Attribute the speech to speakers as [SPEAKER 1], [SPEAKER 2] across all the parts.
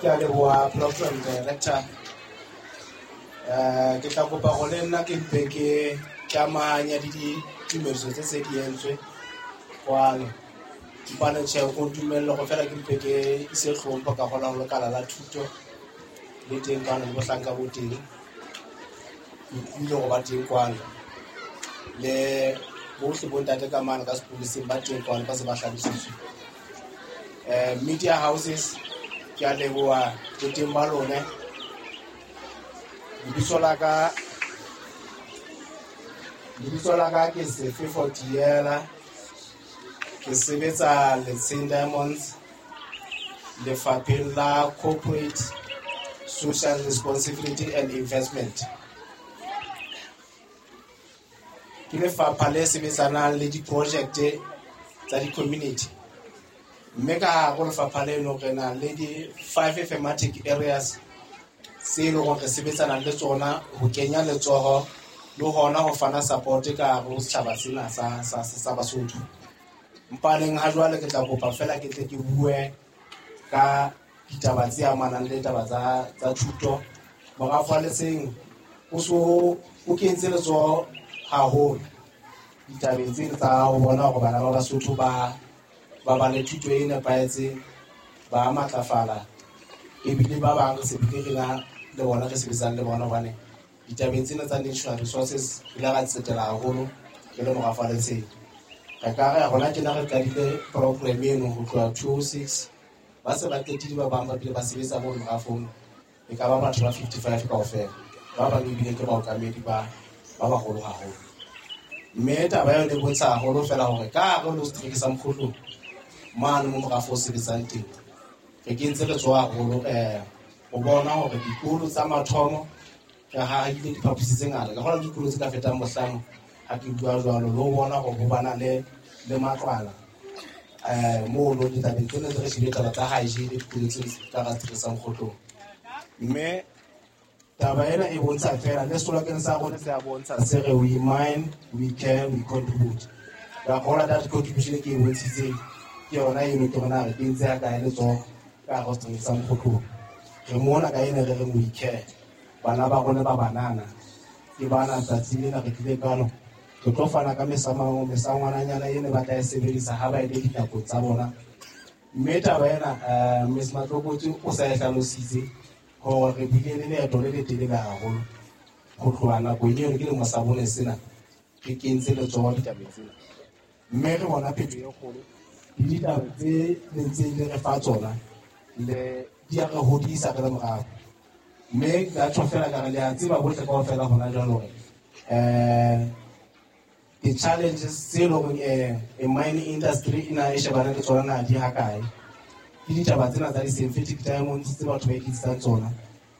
[SPEAKER 1] Ke a leboha program director. Ke tla kopa gore le nna ke mpe ke tlamahanya le ditumediso tse se di entswe kwano. Mpane tjhe go ntumelle go fela ke mpe ke ise hlompho ka gola go lekala la thuto le teng kwano le bohlanka bo teng. Ke utlwile go ba teng kwano le bohle bontate ka mane ka sepoleseng ba teng kwano ba se ba hlalositswe. Media houses ke a leboha boteng ba lone. Lebitso la ka ke Sefefo Diela, ke sebetsa Letsheng Diamonds lefapheng la Corporate Social Responsibility and Investment. Ke lefapha le sebetsanang le diprojekte tsa di-community, mme ka hare ho lefapha leno re na le di-five thematic areas tse e leng hore re sebetsana le tsona ho kenya letsoho le hona ho fana support ka hare ho setjhaba sena sa Basotho. Mpaneng ha jwale ke tla kopa fela ke tle ke bue ka ditaba tse amanang le taba tsa thuto. Morafo wa Letsheng o so o kentse letsoho haholo ditabeng tsena tsa ho bona hore bana ba Basotho ba ba le thuto e nepahetseng, ba matlafala, ebile ba bang re se bile re na le bona re sebetsang le bona, hobane ditabeng tsena tsa natural resources re ile ra tsetela haholo re le morafo wa Letsheng. Re ka re hona tjena re qadile program eno ho tloha 2006, ba se ba qetile ba bang ba bile ba sebetsa mo morafong, e ka ba batho ba 55 kaofela, ba bang ebile ke baokamedi ba baholo haholo. Mme taba eo e bontsha haholo fela hore ka hare ho setereke sa Mokhotlong mane mo morafo o sebetsang teng, re kentse letsoho haholo ho bona hore dikolo tsa mathomo re hahile diphaposi tse ngata, ka kgona dikolo tse ka fetang bohlano ha ke bua jwalo, le ho bona hore ho bana le matlwana mono ditabeng tsena tse re shebile taba tsa hygiene dikolo tse ka hara setereke sa Mokhotlong. Mme taba ena e bontsha fela le slogan sa rona se a bontsha se re we mine, we care, we contribute. Ka kgola that contribution ke e bontshitseng ke yona eno, ke rona re kentse ya kae letsoho ka hare ho setereke sa Mokhotlong. Re mona ka ena re reng we care, bana ba rona ba banana ke bana tsatsi lena re tlile kwano re tlo fana ka mesangwananyana ene ba tla e sebedisa ha ba ile dinakong tsa bona. Mme taba ena Miss Matlokotsi o sa e hlalositse hore re bile le leeto le letelele haholo ho tloha nakong eo ke lemo sa bone sena re kentse letsoho ditabeng tsena, mme re bona phetoho e kgolo le ditaba tse le ntseng le re fa tsona le di a re hodisa re le morafo. Mme ka tjho fela ka re le a tseba bohle kaofela hona jwale hore di-challenges tse leng hore mining industry e na e shebane le tsona na di hakae, ke ditaba tsena tsa di-synthetic diamonds tse batho ba iketsetsang tsona.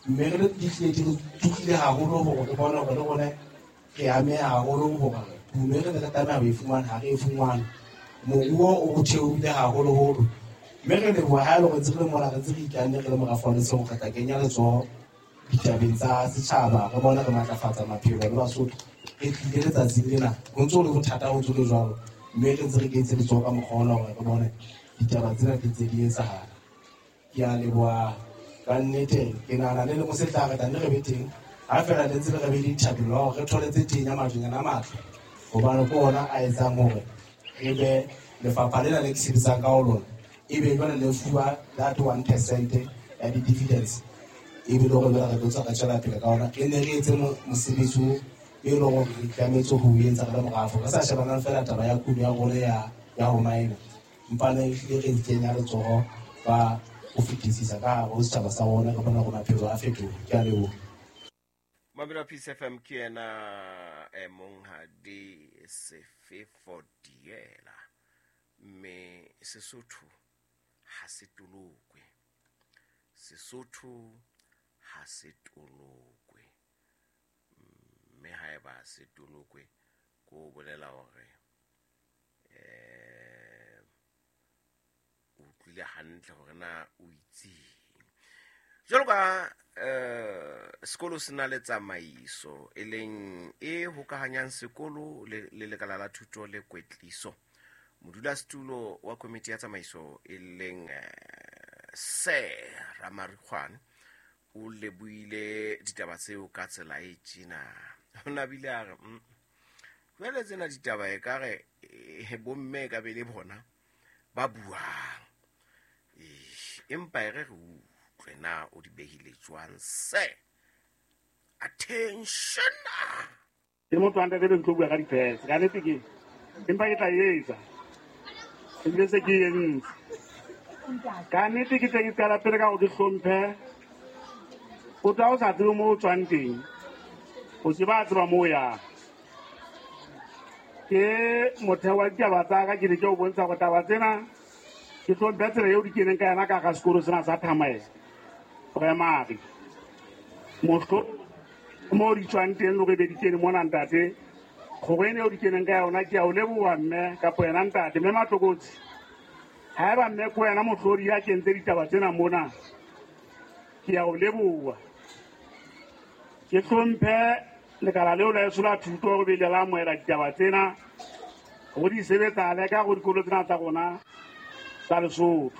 [SPEAKER 1] Mme re di tlile di re tukile haholo hore re bone hore le rona re ameha haholo hore kuno e re ne re tlameha ho e fumana ha re e fumane, moruo o theohile haholoholo. Mme re leboha ha e le hore ntse re le mona re ntse re ikanne re le morafo wa Letsheng re tla kenya letsoho ditabeng tsa setjhaba, re bone re matlafatsa maphelo le Basotho. Re tlile letsatsing lena ho ntso le bothata ho ntso le jwalo, mme re ntse re kentse letsoho ka mokgwa ona hore re bone ditaba tsena di ntse di etsahala. Ke a leboha ka nnete, ke nahana le lemo se tla re tla nne re be teng ha fela le ntse le re be le dithapelo hore re thole tse teng ya majonyana a matle, hobane ke ona a etsang hore re be lefapha lena le ke sebetsang ka ho lona ebe jwale le fuwa that 1% ya di-dividends, ebe le hore jwale re tlo tswa re tswela pele ka ona, re ne re etse mosebetsi o e leng hore re tlametse ho etsa re le morafo, re sa shebanang fela taba ya kuno ya rona ya ho mine, empa ne ehlile re kenya letsoho ka ho fetisisa ka hare ho setjhaba sa rona, re bona hore maphelo a fetoha. Ke a leboha.
[SPEAKER 2] Mamelo Peace FM ke yena monghadi Sefefo Diela, mme Sesotho ha se tolokwe, Sesotho ha se tolokwe, mme haeba se tolokwe ko bolela hore o utlwile hantle hore na o itseng. Jwalo ka sekolo se na le tsamaiso e leng e hokahanyang sekolo le lekala la thuto le kwetliso. Modulasetulo wa komiti ya tsamaiso e leng Sir Ramarikgwane o lebohile ditaba tseo ka tsela e tjena. O nabile a re jwale tsena ditaba e ka re bomme ka be le bona ba buang, empa e re re utlwe na o di behile jwang. Sir, attention.
[SPEAKER 3] Ke motho wa ntate be ntlo bua ka dipese ka nnete ke empa ke tla etsa ebile se ke entse ka nnete. Ke teng ke qala pele ka gore ke hlomphe o tla o sa tsebe mo o tswang teng, o se ba tseba mo o yang. Ke motheo wa ditaba tsa ka, ke ne ke o bontsha gore taba tsena ke hlomphe tsela eo di keneng ka yona ka ga sekolo sena sa Thamaela Primary, mohlo mo di tswang teng le gore be di kene mona. Ntate, kgoro ene eo di keneng ka yona, ke a o leboha mme kapo yena ntate mme Matlokotsi. Ha eba mme ko wena mohlodi ya kentse ditaba tsena mona, ke a o leboha. Ke hlomphe lekala leo la eso la thuto gore be le la amohela ditaba tsena go di sebetsale ka go dikolo tsena tsa rona tsa Lesotho,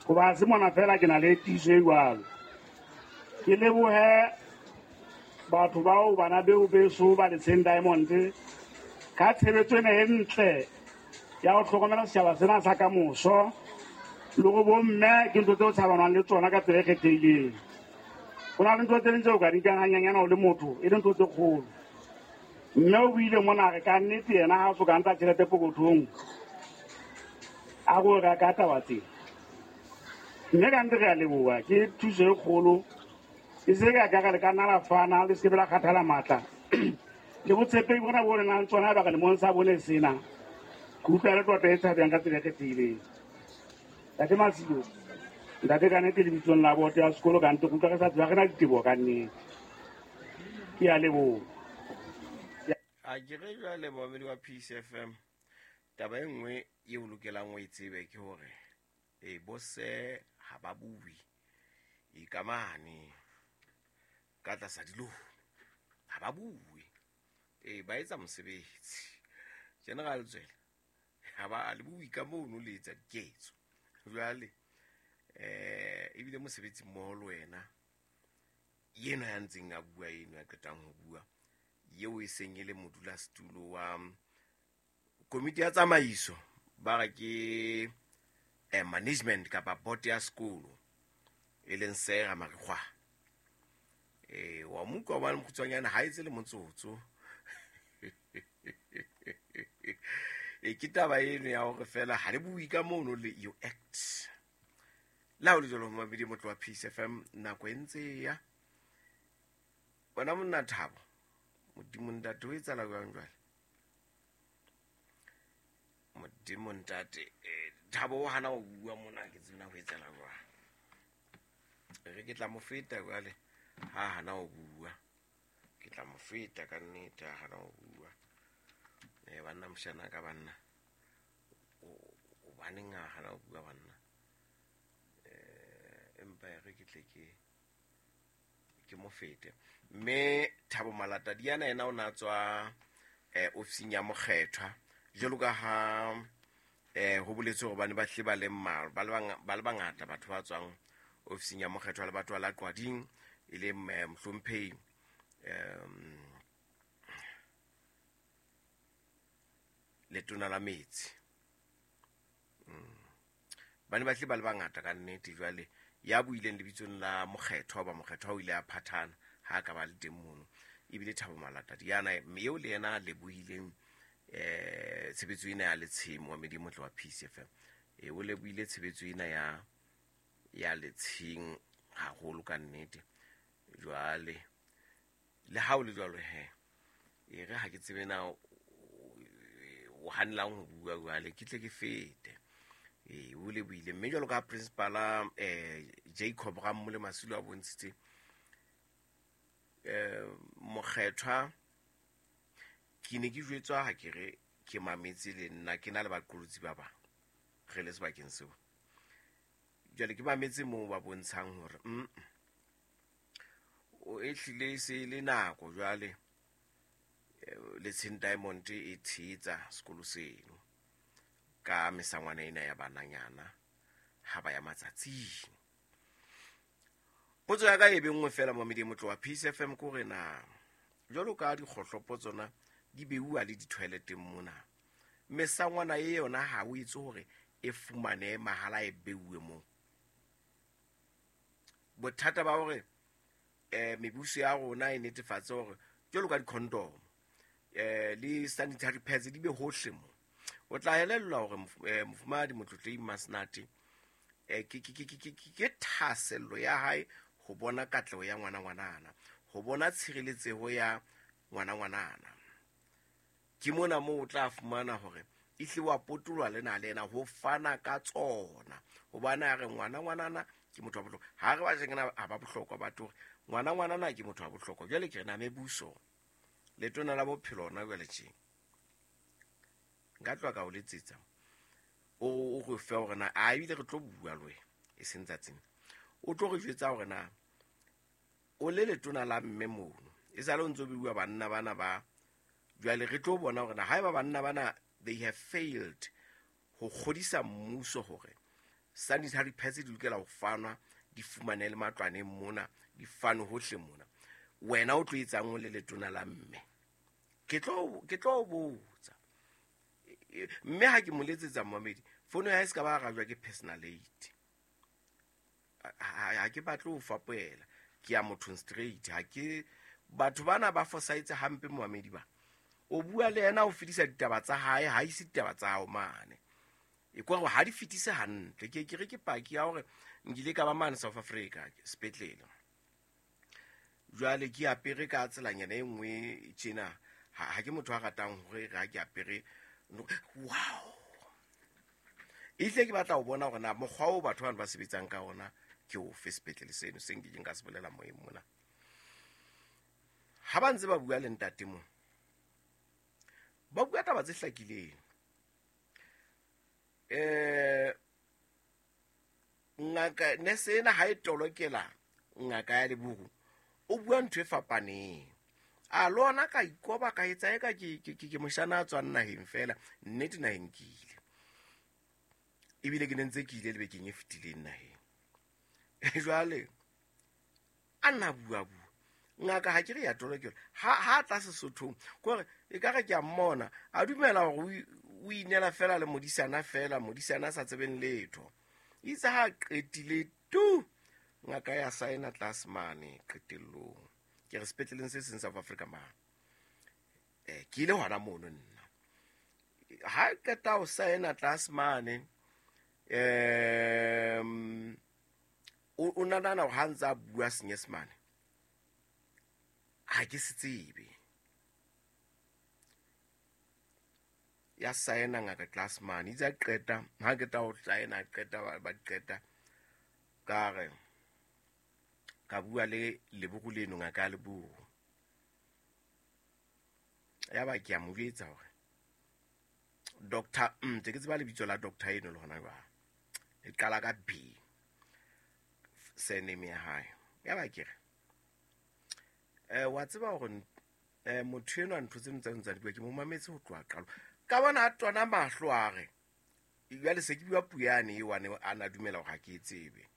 [SPEAKER 3] goba se mona fela ke na le tiiso e jwalo. Ke lebohe batho bao bana beo beso ba Letsheng Diamond ka tshebetso ena e ntle ya ho hlokomela setjhaba sena sa kamoso le go bomme ke ntho tseo tshabanwang le tsona ka tsela e kgethehileng. Ho na le ntho tse ding tseo ka di nkang hanyanyana o le motho e le ntho tse kgolo. Mme o buile mona re ka nnete yena ha o so ka ntsha tjhelete pokothong a go reka taba tsena, mme ka nnete re a leboha, ke thuso e kgolo. E se ka ka le ka nna la fana le se ke la kgathala matla le botshepehi bona bo le nang tsona baka lemong sa bone sena. Ke utlwa le tota e tshabeng ka tsela e kgethehileng. Ntate Masilo, ntate, ka nnete lebitsong la boto ya sekolo ka nnete ke utlwa re sa tseba re na diteboho ka nnete, ke a leboha.
[SPEAKER 2] A ke re jwale momamedi wa Peace FM, taba e nngwe eo lokelang o e tsebe ke hore e bose ha ba bue e ka mane ka tlasa dilomo, ha ba bue, e ba etsa mosebetsi. General Tswele ha ba le bue ka mono, le etsa diketso. Jwale ebile mosebetsi mmoho le wena yena ya ntseng a bua eno ya qetang ho bua eo e seng e le modulasetulo wa komiti ya tsamaiso, ba re ke management kapa board ya sekolo, e leng Sera Marikgwa. Wa mo utlwa hobane mokgutshwanyane ha etse le motsotso. E ke taba eno ya hore fela ha le bue ka mono le you act. Le ha o le jwalo momamedi motlo wa Peace FM, nako e ntse ya wena monna Thabo Modimo ntate o etsahala jwang jwale? Modimo ntate, Thabo o hana ho bua mona, ke tsena ho etsahala jwang? Re ke tla mo feta jwale ha hana ho bua, ke tla mo feta ka nnete ha hana ho bua. Banna moshana ka banna o baneng ha hana ho bua banna. Empa re ke tle ke mo fete. Mme Thabo Malatadiana yena o na tswa ofising ya mokgethwa jwalo ka ha ho boletswe hore bane ba hle ba le mmalwa, ba le bangata batho ba tswang ofising ya mokgethwa le batho ba la Qwading, e leng mohlomphehi letona la metsi. Ba ne ba hle ba le bangata ka nnete. Jwale ya buileng lebitsong la mokgethwa, ba mokgethwa o ile a phathana ha ka ba le teng mono, ebile Thabo Malatadiana mme eo le yena a lebohileng tshebetso ena ya Letsheng wa Medimo wa Peace FM. O lebohile tshebetso ena ya Letsheng haholo ka nnete. Jwale le ha o le jwalo he, e re ha ke tsebe na o hanelang ho bua jwale, ke tle ke fete. O lebohile mme jwalo ka principala Jacob Rammole Masilo a bontshitse mokgethwa, ke ne ke jwetswa ha ke re ke mametse le nna ke na le baqolotsi ba bang re le sebakeng seo. Jwale ke mametse moo ba bontshang hore o ehlile e se le nako jwale Letsheng Diamond e tshehetsa sekolo seno ka mesangwana ena ya bananyana ha ba ya matsatsing. Potso ya ka e be nngwe fela momedi e motlo wa Peace FM ko re na jwalo ka dikgohlopo tsona di beuwa le di-toileteng mona, mesangwana e yona ha o etse hore e fumane mahala e beuwe moo. Bothata ba hore mebuso ya rona e netefatse hore jwalo ka di-condom le sanitary pads di be hohle mo. O tla elellwa hore mofumahadi Motlotlei Masenate ke thahasello ya hae ho bona katleho ya ngwana ngwanana, ho bona tshireletseho ya ngwana ngwanana. Ke mona moo o tla fumana hore e hle wa potolwa le na le yena ho fana ka tsona, hobane a re ngwana ngwanana ke motho wa bohlokwa. Ha re ba tjena ha ba bohlokwa, batho hore ngwana ngwanana ke motho wa bohlokwa. Jwale ke re na mebuso letona la bophelo hona jwale tje nka tloha ka o letsetsa o re fe hore na a ebile re tlo bua le wena e seng tsatsing, o tlo re jwetsa hore na o le letona la mme mono e sale o ntso bua banna bana ba jwale re tlo bona hore na haeba banna bana they have failed ho kgodisa mmuso hore sanitary pads di lokela ho fanwa di fumane le matlwaneng mona di fanwe hohle mona, wena o tlo etsang o le letona la mme? Ke tlo botsa. Mme ha ke mo letsetsa momedi fono ya hae se ka ba arajwa ke personal aid. Ha ke batle ho fapoela, ke ya mothong straight. Ha ke batho bana ba fosaitse hampe momedi ba. O bua le yena o fetisa ditaba tsa hae, ha ise ditaba tsa hao mane. E kwa hore ha di fetise hantle. Ke re ke paki ya hore nkile ka ba mane South Africa sepetlele. Jwale ke apere ka tselanyana e nngwe tjena. Ha ke motho a ratang hore ha ke apere wow. Ehlile ke batla ho bona hore na mokgwa oo batho bana ba sebetsang ka ona ke ofe sepetlele seno se nkekeng ka se bolela moyeng mona. Ha ba ntse ba bua le ntate mo, ba bua taba tse hlakileng. Ngaka nese ena ha e tolokela ngaka ya Leburu, o bua ntho e fapaneng. A lona ka ikoba ka etsa eka ke moshana a tswang naheng fela, nnete naheng ke ile. Ebile ke ne ntse ke ile le bekeng e fetileng naheng. Jwale a nna bua bua. Ngaka ha ke re ya tolokela, ha tla Sesothong, kore e ka re ke a mmona, a dumela hore o inela fela le modisana fela, modisana a sa tsebeng letho. Itse ha qetile tu, ngaka ya saena tlase mane qetellong. Ke re sepetleleng se seng South Africa mane. Ke ile hona mono nna. Ha qeta ho saena tlase mane, o nahana hore ha ntse a bua Senyesemane, ha ke se tsebe. Ya saena ngaka tlase mane, itse a qeta, ha qeta ho saena, qeta ba qeta, ka re ka bua le Leburu leno, ngaka ya Leburu. Ya ba ke a mo jwetsa hore doctor, ntse ke tseba lebitso la doctor eno le hona jwale. E qala ka B, surname ya hae. Ya ba ke re, wa tseba hore motho enwa ntho tseno tsa ntsa di bua, ke mo mametse ho tloha qalo. Ka bona a tona mahlo a re, jwale se ke bua puo yane eo a na dumela hore ha ke e tsebe.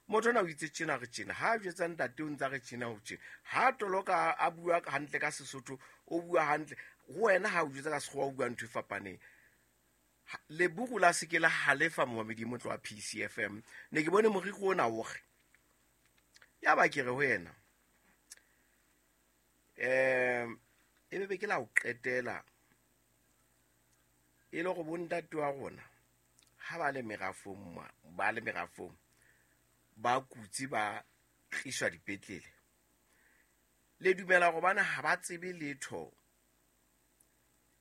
[SPEAKER 2] Motho ona o itse tjena re tjena, ha a jwetsa ntate o ntsa re tjena ho tjena. Ha toloka a bua hantle ka Sesotho, o bua hantle. Ho wena ha o jwetsa ka Sekgowa o bua ntho e fapaneng. Leburu la se ke la halefa momamedi motlo wa PCFM. Ne ke bone moriri ona o re. Ya ba ke re ho yena, e be ke la o qetela e le hore bontate wa rona ha ba le merafong ma, ba le merafong ba kutse ba tliswa dipetlele. Le dumela hore bana ha ba tsebe letho,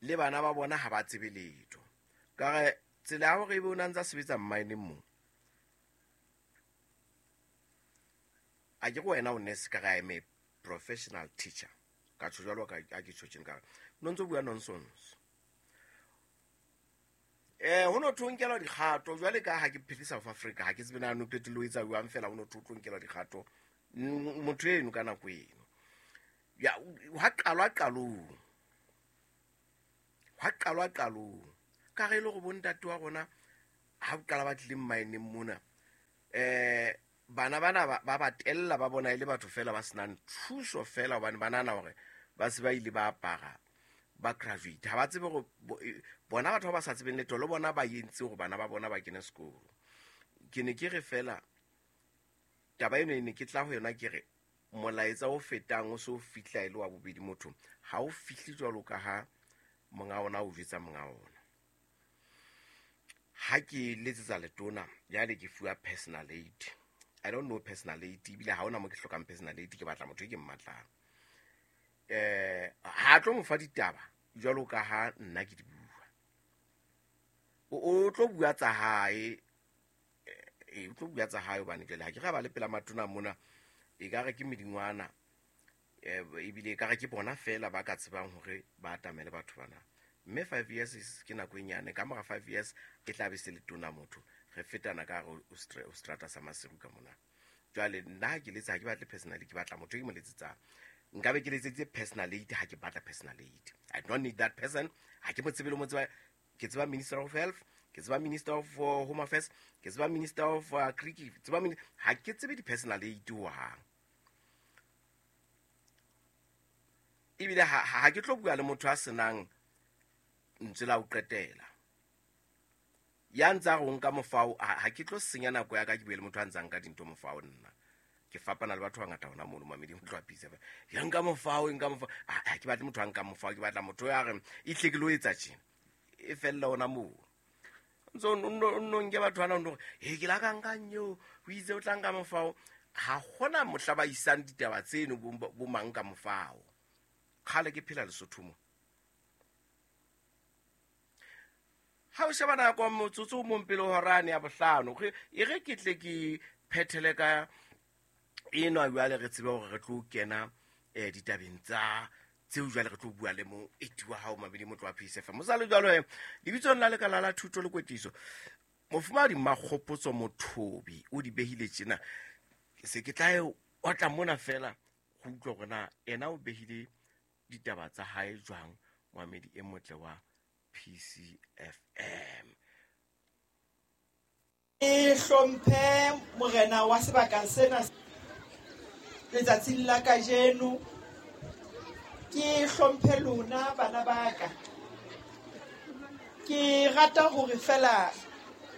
[SPEAKER 2] le bana ba bona ha ba tsebe letho. Ka re tsela ya hore ebe o na ntsa sebetsa mmineng mo, a ke re wena o nurse, ka re I am a professional teacher. Ka tjho jwalo ka ha ke tjho tjena, ka re no ntso bua nonsense. Ho no tho nkelwa dikgato jwale ka ha ke phele South Africa, ha ke tsebe na no qetellong e etsa jwang fela, ho no tho nkelwa dikgato motho eno ka nako eno. Ya, ha qalwa qalong. Ha qalwa qalong. Ka re e le hore bontate wa rona ha o qala ba tlile mmineng mona, Bana bana ba ba tella ba bona e le batho fela ba senang thuso fela hobane ba nahana hore ba se ba ile ba apara ba graduate. Ha ba tsebe hore bona batho ba ba sa tsebeng letho le bona ba entse hore bana ba bona ba kene sekolo. Ke ne ke re fela taba eno e ne ke tla ho yona ke re molaetsa o fetang o so fihla e le wa bobedi motho ha o fihle jwalo ka ha monga ona o jwetsa monga ona. Ha ke letsetsa letona jwale ke fuwa personal aid. I don't know personal aid ebile ha hona mo ke hlokang personal aid, ke batla motho e ke mmatlang. Ha tlo mo fa ditaba jwalo ka ha nna ke di bua. O tlo bua tsa hae, o tlo bua tsa hae hobane jwale ha ke ra ba le pela matona mona e ka re ke medingwana, ebile e ka re ke bona fela ba ka tsebang hore ba atamele batho bana. Mme 5 years ke nako e nyane, ka mora 5 years e tla be se le tona motho. Re fetana ka hare o strata sa Maseru ka mona. Jwale nna ha ke letsa ha ke batle personally, ke batla motho e ke mo letsetsang. Nkabe ke letseditse personal aid ha ke batla personal aid. I don't need that person. Ha ke mo tsebe le mo tseba. Ke tseba Minister of Health, ke tseba Minister of Home Affairs, ke tseba Minister of Creek, ke tseba ha ke tsebe di-personal aid hohang. Ebile ha ke tlo bua le motho a senang ntswe la ho qetela. Ya ntsa re o nka mofao, ha ke tlo senya nako ya ka ke bue le motho a ntsa nka dintho mofao nna. Ke fapana le batho ba bangata hona mono mamedi ho tloha Peace FM. Ya nka mofao, nka mofao. Ha ke batle motho a nka mofao, ke batla motho ya re e tle ke lo etsa tjena. E fella hona moo. Ntso nno nke batho bana o he ke la ka nka nyeo, o itse o tla nka mofao. Ha hona mohla ba isang ditaba tseno bo mang ka mofao. Kgale ke phela Lesotho mo. Ha o sheba nako motsotso o mong pele horane ya bohlano, e re ke tle ke phethele ka enwa jwale re tsebe hore re tlo kena ditabeng tsa tseo jwale re tlo bua le mo eti wa hao mamedi motlo wa Peace FM. Mosale jwalo he lebitsong la lekala la thuto le kwetliso mofumahadi Makgopotso Mothobi o di behile tjena. Se ke tla e otla mona fela go utlwa hore na ena o behile ditaba tsa hae jwang mamedi e motle wa PCFM.
[SPEAKER 4] E hlomphe morena wa sebaka sena letsatsing la kajeno. Ke hlomphe lona bana ba ka. Ke rata hore fela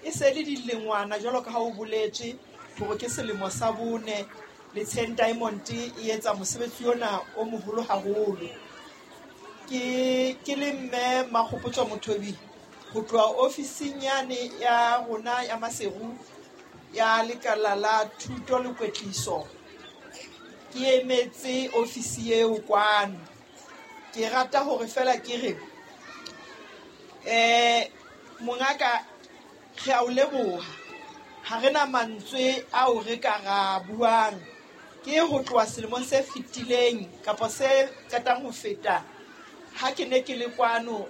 [SPEAKER 4] e se le dilengwana jwalo ka ha o boletswe hore ke selemo sa bone Letsheng Diamond e etsa mosebetsi ona o moholo haholo. Ke le mme Makgopotso Mothobi ho tloha ofising yane ya rona ya Maseru ya lekala la thuto le kwetliso. Ke emetse ofisi eo kwano. Ke rata hore fela ke re mongaka re a o leboha. Ha re na mantswe ao re ka ra buang. Ke ho tloha selemong se fetileng kapa se qetang ho feta ha ke ne ke le kwano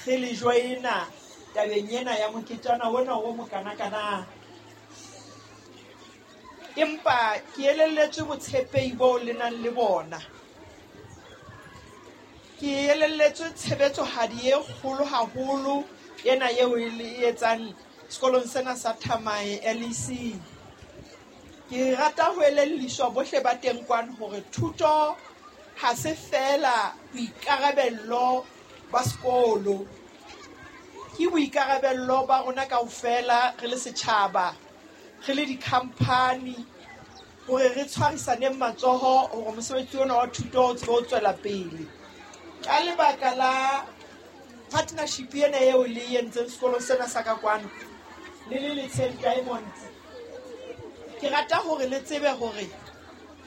[SPEAKER 4] re le joina tabeng ena ya moketjana ona o mokanakana. Empa ke elelletswe botshepehi bo le nang le bona. Ke elelletswe tshebetsohadi e kgolo haholo ena eo e le etsang sekolong sena sa Thamae LEC. Ke rata ho elelliswa bohle ba teng kwano hore thuto ha se fela boikarabello ba sekolo. Ke boikarabello ba rona kaofela re le setjhaba, re le di-company, hore re tshwarisaneng matsoho hore mosebetsi ona wa thuto o tsebe ho tswela pele. Ka lebaka la partnership ena eo le e entseng sekolong sena sa ka kwano le le Letsheng Diamond, ke rata hore le tsebe hore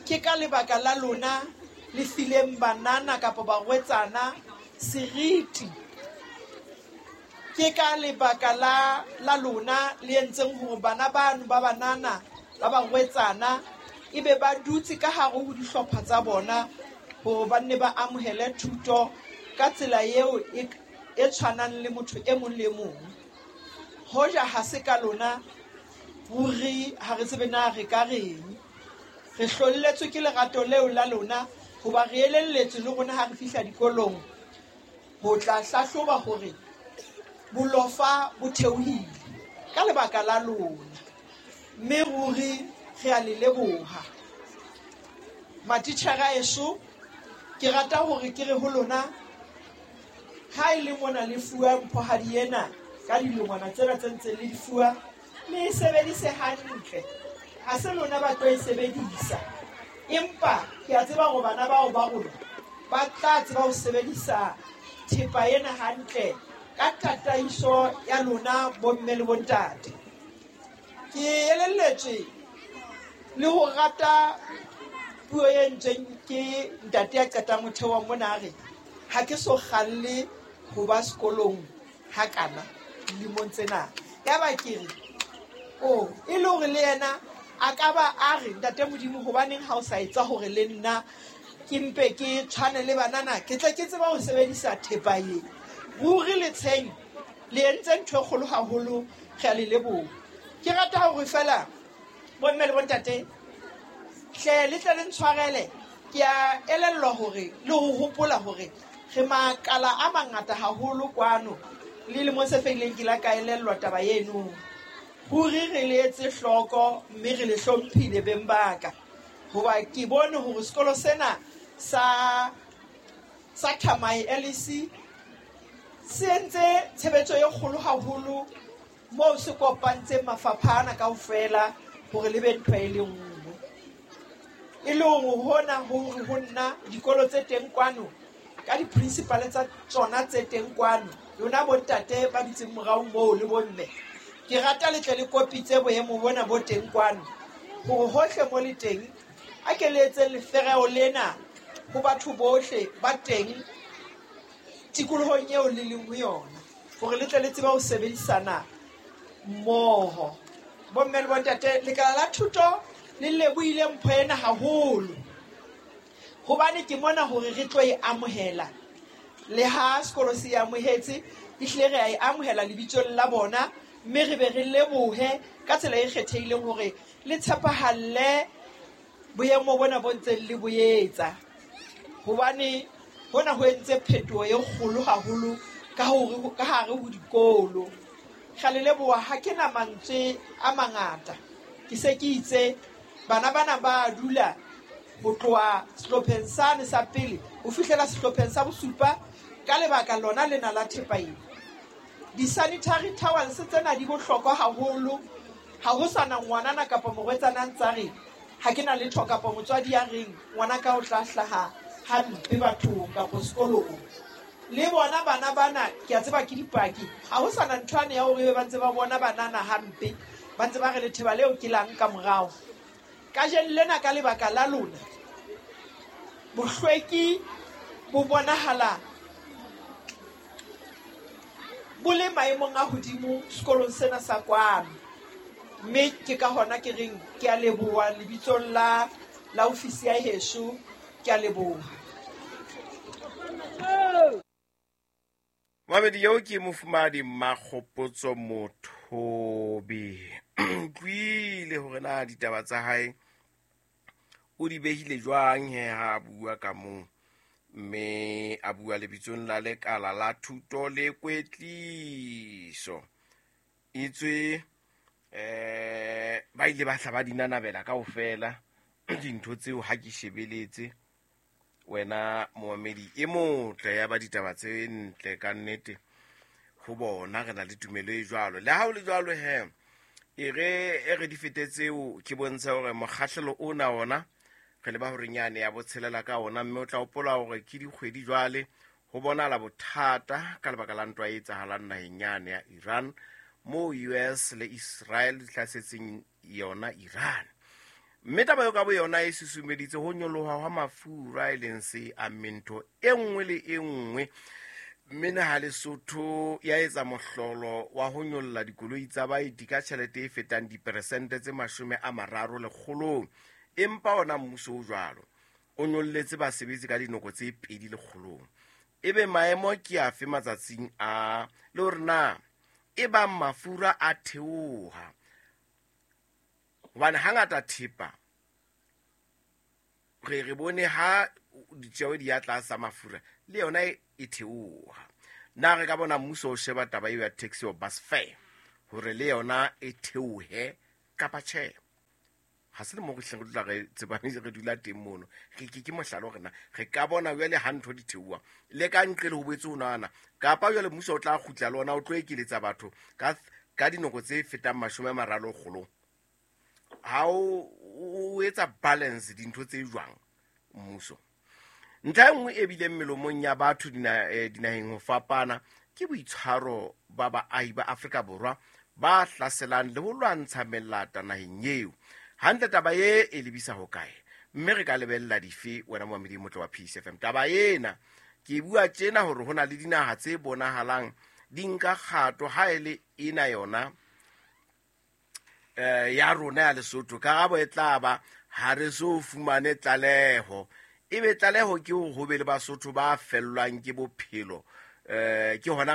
[SPEAKER 4] ke ka lebaka la lona le fileng banana kapa barwetsana seriti. Ke ka lebaka la lona le entseng hore bana bano ba banana ba barwetsana ebe ba dutse ka hare ho dihlopha tsa bona hore ba nne ba amohele thuto ka tsela eo e tshwanang le motho e mong le mong. Hoja ha se ka lona ruri ha re tsebe na re ka reng. Re hlolletswe ke lerato leo la lona hoba re elelletswe le rona ha re fihla dikolong ho tla hlahloba hore bolofa bo theohile ka lebaka la lona. Mme ruri Re a le leboha. Matitjhere a eso, ke rata hore ke re ho lona, ha e le mona le fuwa mphohadi ena ka dilengwana tsena tse ntseng le di fuwa, le e sebedise hantle. Ha se lona ba tlo e sebedisa, empa ke a tseba hore bana bao ba rona ba tla tseba ho sebedisa thepa ena hantle ka tataiso ya lona bomme le bontate. Ke elelletswe le ho rata puo e ntseng ke ntate ya qetang ho theoha mona a re ha ke so kgalle ho ba sekolong hakana dilemong tsena. Yaba ke re, o e le hore le yena a ka ba a re ntate Modimo, hobaneng ha o sa etsa hore le nna ke mpe ke tshwane le banana, ke tle ke tseba ho sebedisa thepa e. Ruri letsheng le entse ntho e kgolo haholo, re a le leboha. Ke rata hore feela bomme le bontate hle le tle le ntshwarele, ke a elellwa hore le ho hopola hore re makala a mangata haholo kwano. Le lemong se fetileng ke la ka elellwa taba eno. Ruri re le etse hloko mme re le hlomphile beng ba ka, hoba ke bone hore sekolo sena sa Thamae LEC se entse tshebetso e kgolo haholo moo se kopantseng mafapha ana kaofela hore le be ntho e le nngwe. E le hore hona hore ho nna dikolo tse teng kwano ka di-principal tsa tsona tse teng kwano, lona bontate ba dutseng morao moo le bomme, ke rata le tle le kopitse boemo bona bo teng kwano hore hohle mo le teng a ke le etseng lefereo lena ho batho bohle ba teng tikolohong eo le leng ho yona, hore le tle le tsebe ho sebedisana mmoho. Bomme le bontate, lekala la thuto le lebohile mpho ena haholo, hobane ke mona hore re tlo e amohela. Le ha sekolo se e amohetse, ehlile re a e amohela lebitsong la bona, mme re be re lebohe ka tsela e kgethehileng hore le tshepahalle boemo bona bo ntseng le bo etsa, hobane hona ho entse phetoho e kgolo haholo ka hore ka hare ho dikolo. Re le leboha, ha ke na mantswe a mangata, ke se ke itse bana bana ba dula ho tloha sehlopheng sane sa pele ho fihlela sehlopheng sa bosupa ka lebaka lona lena la thepa ena. Di-sanitary towels tsena di bohlokwa haholo. Ha ho sana ngwanana kapa morwetsana a ntsa re ha ke na letho, kapa motswadi ya reng ngwana ka o tla hlaha hampe bathong kapa sekolong. Le bona bana bana ke a tseba ke dipaki, ha ho sana ntho ane ya hore ba ntse ba bona banana hampe, ba ntse ba re letheba leo ke lang ka morao. Kajeno lena ka lebaka la lona bohlweki bo bonahala bo le maemong a hodimo sekolong sena sa kwano, mme ke ka hona ke reng ke a leboha lebitsong la ofisi ya heso, ke a leboha.
[SPEAKER 2] Mamedi eo ke mofumahadi Makgopotso Mothobi. Utlwile hore na ditaba tsa hae o di behile jwang he ha a bua ka moo, mme a bua lebitsong la lekala la thuto le kwetliso. Etswe ba ile ba hla ba di nanabela kaofela dintho tseo ha ke shebeletse wena momamedi e motle ya ba ditaba tse ntle ka nnete ho bona re na le tumelo e jwalo. Le ha o le jwalo he, e re di fete tseo ke bontsha hore mokgahlelo ona ona re le ba hore nyane ya botshelela ka ona, mme o tla hopola hore ke dikgwedi jwale ho bonahala bothata ka lebaka la ntwa e etsahalang naheng yane ya Iran, moo US le Israel di hlasetseng yona Iran. Mme taba eo ka bo yona e susumeditse ho nyoloha hwa mafura, e leng se ammeng ntho e nngwe le e nngwe. Mme naha Lesotho ya etsa mohlolo wa ho nyolla dikoloi tsa baeti ka tjhelete e fetang diperesente tse 30 lekgolong. Empa ona mmuso o jwalo o nyolletse basebetsi ka dinoko tse 2 lekgolong. Ebe maemo ke afe matsatsing a le hore na e bang mafura a theoha, hobane hangata thepa re bone ha ditjeo di ya tlasa mafura le yona e theoha. Na re ka bona mmuso o sheba taba eo ya taxi or bus fare hore le yona e theohe kapa tjhe? Ga se le mo re hleng re dula re tsebane re dula teng mono. Re ke ke mohlala hore na re ka bona jwale ha ntho di theoha le ka nqe le ho boetse ho nahana kapa jwale mmuso o tla kgutla le ona o tlo ekeletsa batho ka dinako tse fetang 30 kgolong. Ha o etsa balance dintho tse jwang mmuso. Ntlha e nngwe e bileng melomong ya batho dinaheng ho fapana ke boitshwaro ba baahi ba Afrika Borwa ba hlaselang le ho lwantsha melata naheng eo. Hantle taba e e lebisa hokae? Mme re ka lebella dife wena momamedi motle wa Peace FM? Taba ena ke bua tjena hore ho na le dinaha tse bonahalang di nka kgato ha e le ena yona ya rona ya Lesotho. Karabo e tla ba ha re so fumane tlaleho. Ebe tlaleho ke hore ho be le Basotho ba fellwang ke bophelo. Ke hona